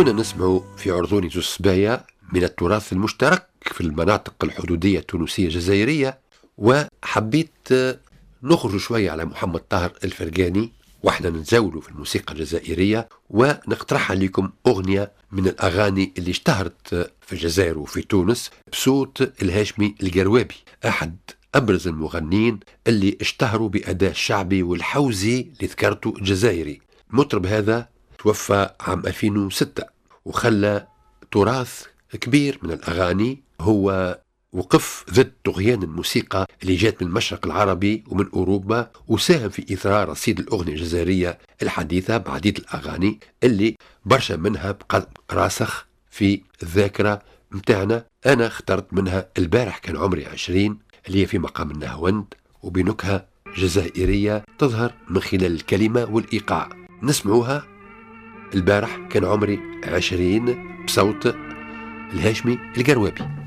كنا نسمع في عرضوني زوز صبايا من التراث المشترك في المناطق الحدودية التونسية الجزائرية، وحبيت نخرج شوية على محمد طاهر الفرقاني واحنا نتزولوا في الموسيقى الجزائرية، ونقترح عليكم أغنية من الأغاني اللي اشتهرت في الجزائر وفي تونس بصوت الهاشمي القروابي، أحد أبرز المغنين اللي اشتهروا بأداء الشعبي والحوزي اللي ذكرته الجزائري. المطرب هذا توفى عام 2006 وخلى تراث كبير من الأغاني. هو وقف ضد طغيان الموسيقى اللي جات من المشرق العربي ومن أوروبا، وساهم في إثراء رصيد الأغنية الجزائرية الحديثة بعديد الأغاني اللي برشا منها بقى راسخ في الذاكرة متاعنا. أنا اخترت منها البارح كان عمري 20 اللي هي في مقام النهوند وبنكهة جزائرية تظهر من خلال الكلمة والإيقاع. نسمعوها البارح كان عمري 20 بصوت الهاشمي القروابي.